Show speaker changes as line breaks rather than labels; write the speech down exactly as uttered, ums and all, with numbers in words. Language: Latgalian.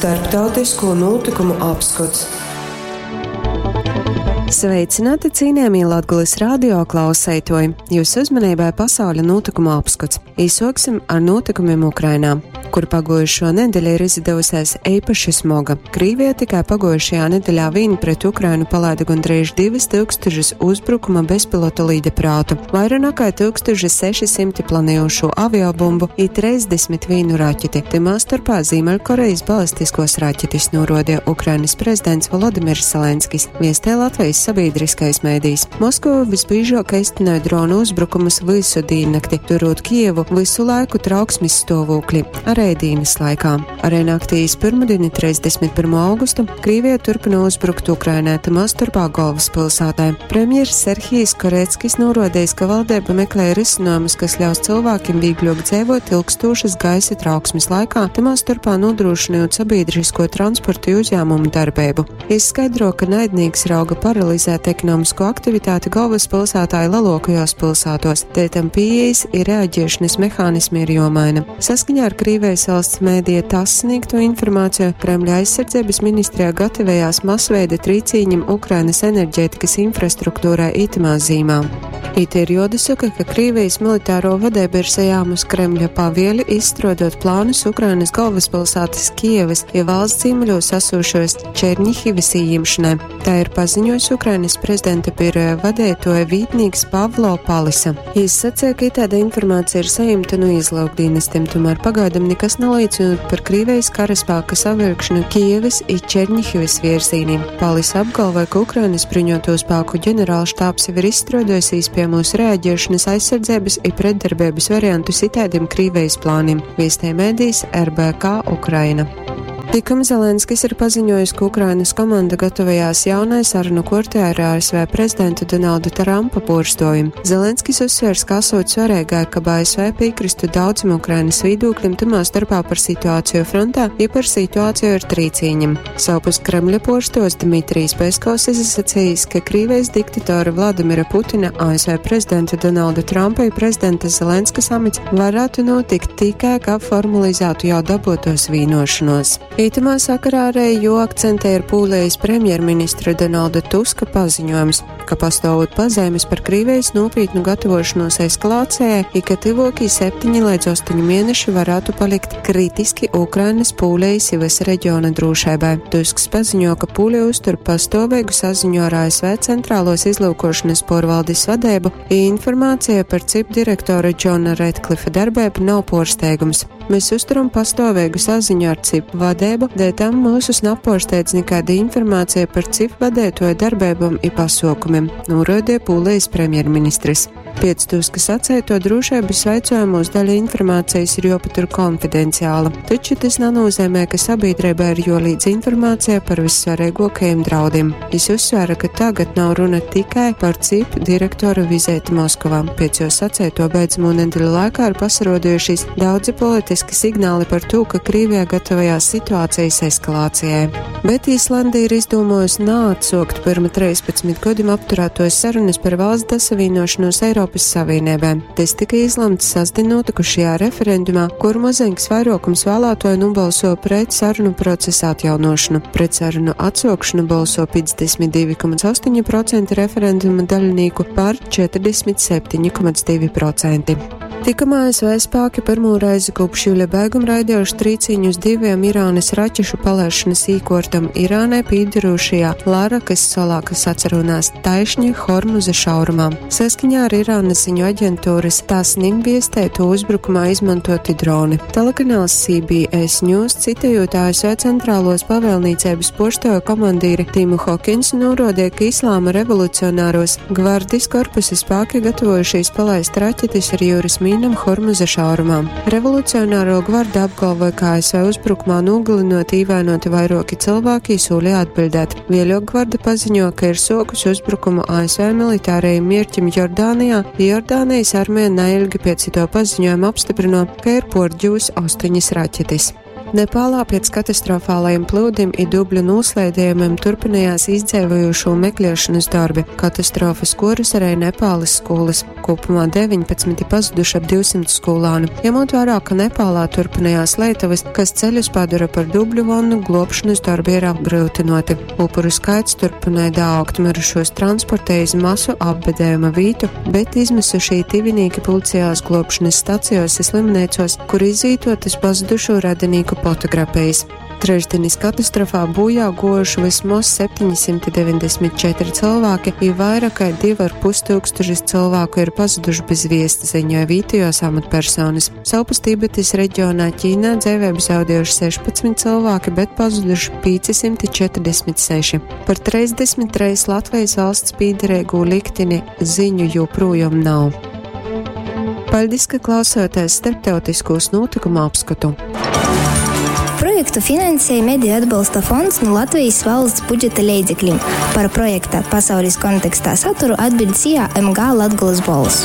Starptautisko notikumu apskots.
Sveicināti, cienījamie Latgulis radio klausētoji! Jūsu uzmanībai pasauļa notikumu apskats. Īsoksim ar notikumiem Ukrainā, kur pagojušo nedēļu ir izdevusies īpaši smoga. Krīvija tikai pagojušajā nedēļā vien pret Ukrainu palaida gandrīz divas tūkstošas uzbrukuma bezpilota līdeprātu, vairāk nekā tūkstoš seši simti planējošo aviobumbu i trīsdesmit vienu raķeti. Timā starpā Ziemeļkorejas balistiskos raķetis, norodīja Ukrainas prezidents Volodimirs Zelenskis, viestē Latvijas sabiedriskais mēdījis. Moskova visbiežāk īstenoja dronu uzbrukumus visu diennakti, turot Kijevu visu laiku trauksmes stāvoklī, arī dienas laikā. Arī naktī iz pirmdieni, trīsdesmit pirmo augustu, Krievija turpina uzbrukt Ukrainai, tamā starpā galvaspilsētai. Premjeras Serhijs Koreckis norādījis, ka valdība meklē risinājumus, kas ļaus cilvēkiem vieglāk dzīvot ilgstošas gaisa trauksmes laikā, tamā starpā nodrošinot sabiedrisko transportu uzņēmumu darbību. Izskaidro, ka naidnīgs rauga paralizēt ekonomisko aktivitāti galvaspilsētā i lielākajos pilsētos, dēļ tam pieejas i reaģēšanas mehānismi ir jomaina. Saskaņā ar Krievijas valsts mēdīja TASS sniegto informāciju, Kremļa aizsardzības ministrijā gatavējās masveida trīcīņam Ukrainas enerģētikas infrastruktūrai itamā zīmā. It ir jodasaka, ka Krievijas militāro vadība ir sajāmus Kremļa pavieli izstrādot plānus Ukrainas galvaspilsētas Kijevas, ja valsts ziemeļos esošos Černihivas ījimšanai. Tā ir paziņojis Ukrainas prezidenta biroja vadītoja vītnīgs Pavlo Palisa. Jis sacīja, ka itāda informācija ir saņemta no izlūkdienestiem, tomēr pagaidām nekas neliecina par Krievijas karaspēka savilkšanu Kijevas i Černihivas virzīnī. Palisa apgalvoja, ka Ukrainas bruņoto spēku ģenerālštābs jau ir izstrādājis iespējamos reaģēšanas, aizsardzības i pretdarbības variantus itādiem Krievijas plāniem, viestē mēdījis R B K Ukraina. Tikam Zelenskis ir paziņojis, ka Ukrainas komanda gatavojās jaunai sarunu kortē ar A S V prezidentu Donaldu Trumpa porstojumu. Zelenskis uzsvērs, ka esot svarīgāk, ka A S V piekristu daudziem Ukrainas viedokļiem, tamā starpā par situāciju frontā, ja par situāciju ar trīcīņiem. Savpus Kremļa porstos Dmitrijs Peskovs izsacījis, ka Krīvijas diktatora Vladimira Putina, A S V prezidenta Donalda Trumpa i prezidenta Zelenska samits varētu notikt tikai, kā formalizētu jau dabotos vienošanos. Itamā sakarā arī joakcentē ir Pūlijas premjerministra Donalda Tuska paziņojums, ka pastāvot pazīmes par Krievijas nopietnu gatavošanos eskalācijai, i ka tuvākie septiņi līdz astoņi mēneši varētu palikt kritiski Ukrainas, Pūlijas i visa reģiona drošībai. Tusks paziņo, ka Pūlija uztur pastāvīgu saziņu ar A S V centrālos izlūkošanas porvaldes vadību, i informācija par C I P direktora Džona Redklifa darbību nav porsteigums. Mēs uzturam pastāvīgu saziņu ar C I P vadību, dēļ tam mūsus naporsteidz nekāda informācija par C I P vadētoju darbībām i pasaukumiem, norādīja Pūlijas premjerministrs. Pēc Tuska sacēto drošības vaicojumos daļa informācijas ir jopatur konfidenciāla, taču tas nenozīmē, ka sabiedrībai ir jolīdz informācija par vissvarīgākajiem draudiem. Jis uzsvēra, ka tagad nav runa tikai par C I P direktora vizīti Moskovā. Pēc jo sacēto beidzamo nedēļu laikā ir pasarodījušies daudzi politiski signāli par to, ka Krievijā gatavojās situācijas eskalācijai. Bet Īslanda ir izdomājusi neatsaukt pirma trīspadsmit gadiem apturētos sarunas par valsts dasavienošanos Eiropas Savienībai. Tas tika izlemts sestdien notikušajā referendumā, kur maziņš vairākums vēlētoju nobalso pret sarunu procesa atjaunošanu. Pret sarunu atsaukšanu balso piecdesmit divi komats astoņi procenti referenduma dalībnieku, par četrdesmit septiņi komats divi procenti. Tikamā A S V spēki pirmo reizi kopš jūļa beiguma raidījuši trīciņus diviem Irānas raķešu palaišanas īkortam Irānai pīderošajā Larakas salā, kas atcerunās taišņi Hormuza šaurumā. Saskaņā ar Irānas ziņu aģentūras Tasnim viestēto uzbrukumā izmantoti droni. Telekanāls C B S News, citējot A S V centrālos pavēlniecības poštoja komandīri Timu Hokinsu, norādīja, ka Islāma revolucionāros gvardis korpusa spēki gatavojušies palaist raķetes ar jūras mīnām Hormuza šaurumā. Revolucionāro gvarda apgalvoja, ka A S V uzbrukumā nogalinot īvainoti vairāki cilvēki, solīja atbildēt. Vēļok gvarda paziņo, ka ir sokus uzbrukumu A S V militārajiem mierķim Jordānijā. Jordānijas armija neilgi pēc to paziņojuma apstiprino, ka ir porģūs astoņas raķetes. Nepālā pēc katastrofālajiem plūdim i dubļu noslēdējumiem turpinājās izdzēvojošo meklēšanas darbi. Katastrofas kurus arī Nepāles skolas. Kopumā deviņpadsmit i pazuduši ap divsimt skolānu. Ņemot vērā, ka Nepālā turpinājās Lietuvas, kas ceļus padara par dubļu vannu, glābšanas darbi ir apgrūtināti. Upuru skaits turpināja daugt, mirušos transportēja iz masu apbedējuma vītu, bet izmisušie tivinīki pulcējās glābšanas stacijos i slimnīcos, kur izvītotas pazudušo radinīku fotografijas. Trešdienas katastrofā bojā gojuši vismaz septiņsimt deviņdesmit četri cilvēki, i vairāk kā divi ar pus tūkstošus cilvēku ir pazuduši bez viests, ziņoja vietējos amatpersonas. Savpus Tibetas reģionā Ķīnā dzīvību zaudējuši sešpadsmit cilvēki, bet pazuduši piecsimt četrdesmit seši. Par trīsdesmit treis Latvijas valsts pīderīgo likteni ziņu joprojām nav. Paldies, ka klausāties starptautiskos notikumu apskatu.
Projektu finansēja Mediju atbalsta fonds no Latvijas valsts budžeta leidzekļiem. Par projekta pasaules kontekstā saturu atbild S I A M G Latgolas Bolvs.